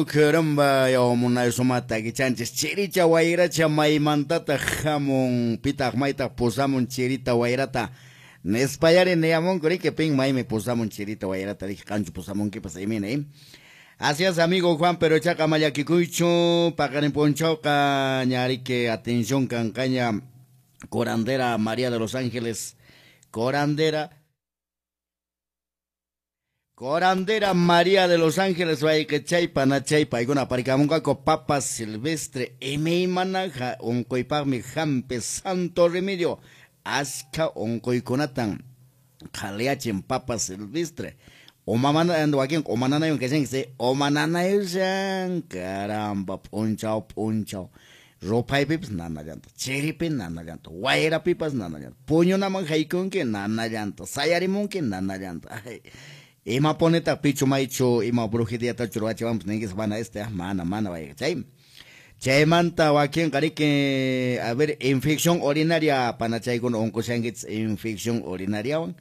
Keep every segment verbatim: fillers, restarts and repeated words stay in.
Caramba, yawamunay sumata kichanchis chiricha wayracha maymantataq hamun pitaq maytaq pusamun chirita wayrata nispayari niyamunku riki pin maymi pusamun chirita wayrata riki qanchu pusamunkipas imina eh. Así es, amigo Juan, pero chaqa mallakikuychu paqarin p'unchawqa ñariki atención kanqaña curandera María de los Ángeles, curandera Corandera María de los Ángeles, wayqichay panachay paykuna aparikamunqaku papa silvestre imaymanaqa unquypaqmi hampi santo remedio askha unquykunatan qhaliyachin papa silvestre umamana wakin umananaywan kashanki umananayushan caramba p'unchaw p'unchaw ruphaypipas nanallanta chiripi nanallanta wayrapipas nanallanta puñunaman haykunki nanallanta sayarimunki nanallanta ay ima poneta pichu maychu ima brujeriatachu ruwachiwanpas ninkipas mana este mana mana wayqichay chaymanta wakinqa riki a ver infección urinaria panachaykuna unqushankichis infección urinariawan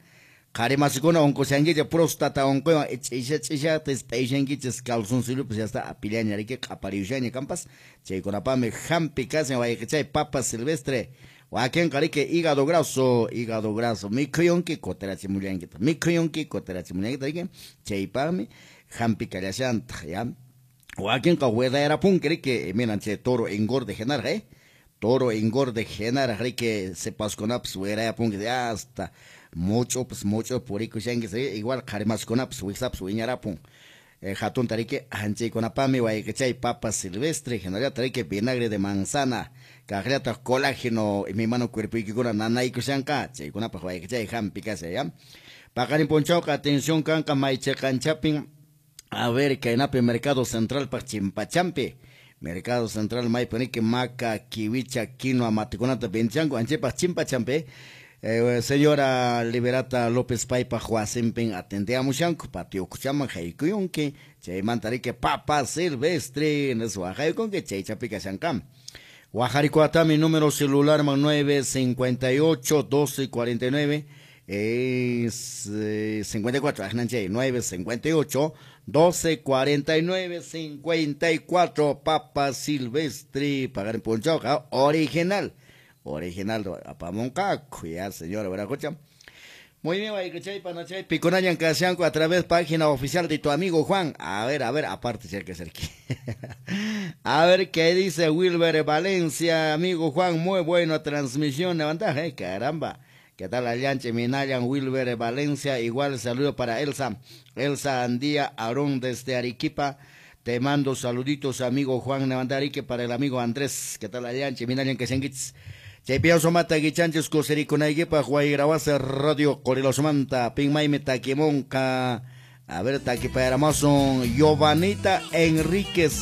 qhari masikuna unqushankichis próstata unquywan ch'isha ch'ishata p'ayshankichis calzoncillopas ya está apillaña riki q'apariyushaña kanpas chaykunapaqmi hampi kashan wayqichay papa silvestre wakinqa riki hígado graso hígado graso mikhuyunki kutirachimullankitaq mikhuyunki kutirachimullankitaq riki chaypaqmi hampi kallashantaq ya wakinqa wedayarapunki riki minan chay toro engorde hinaraq eh toro engorde hinaraq riki sipaskunapas wirayapunki hasta much'upas much'upas purikushanki igual qhari masikunapas wiksapas wiñarapun eh, hatunta riki anchaykunapaqmi wayqichay papa silvestre hinallataq riki vinagre de manzana kaqllataq colágeno imaymana cuerpoykikuna nanaykushanqa chaykunapaq wayqichay hampi kashan ya paqarin p'unchawqa atención kanqa maychiqanchapin a ver kaynapi mercado central paq chimpachampi mercado central maypi riki maca kiwicha quinoa matikunata vendichanku anchaypaq chimpachampi Eh, señora Liberata López Paipa wasinpin atendeamushanku patio ukuchaman haykuyunki chaymanta riki papa silvestre nispa waqaykunki chaychapi kashanqa wajarikuatami número celular man nueve cincuenta y ocho doce cuarenta y nueve es eh, cincuenta y cuatro ajinan chay nueve cincuenta y ocho doce cuarenta y nueve cincuenta y cuatro papa silvestre pagar en punchawqa original original apamunqaku ya señora Veracocha. Muy bien, wayqichay panachay pikunañan kashanku a través página oficial de tu amigo Juan. A ver, a ver, aparte cerca cerca. A ver qué dice Wilber Valencia, amigo Juan, muy buena transmisión, levanta, eh, caramba. ¿Qué tal Allanche Minayan Wilber Valencia? Igual saludo para Elsa, Elsa Andía Aarón desde Arequipa. Te mando saluditos, amigo Juan Levantarique, para el amigo Andrés. ¿Qué tal Allanche Minayan kashankichis? Chaypiyaw sumata kichanchis kusirikunaykipaq Wayrawasi Radio Qorilosmanta pinmaymi takimunqa a ver takipayaramasun Giovanita Enríquez